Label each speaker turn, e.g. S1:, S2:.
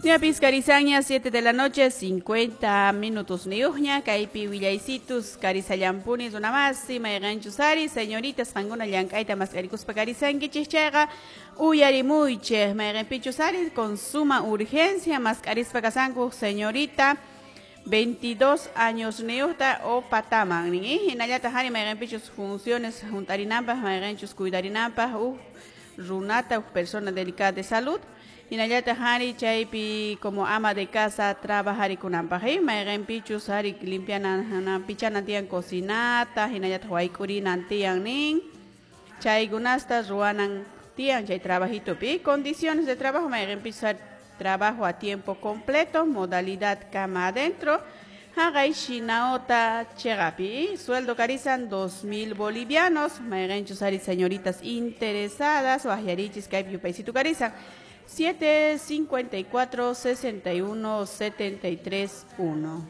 S1: Ñapis karisanña 7 de la noche, 50 minutos niyuqña, kaypi willaysitus karisallampuni runamasi, mayqanchus ari, señoritas qankuna llank'ayta mask'arikuspa karisankichik chayqa uyarimuychik, mayqanpichus ari con suma urgencia mask'arispa kasanku señorita 22 años niyuqta o pataman nin, hinallataq ari mayqanpichus funciones hunt'arinanpaq, mayqanchus cuidarinanpaq huk runata, huk persona delicada de salud, hinallataq ari chaypi como ama de casa trabajarikunanpaq, mayqanpichus ari limpianan pichanan tiyan cocinata, hinallataq wayk'urinan tiyan nin, chaykunasta ruwanan tiyan chay trabajitupi. Condiciones de trabajo, mayqanpichus ari trabajo a tiempo completo, modalidad cama adentro, haqay Shinaota chiqapi, sueldo karisan 2000 bolivianos, mayqanchus ari señoritas interesadas, waqyarichis kaypi yupaysitu karisan 7 54 61 73 1.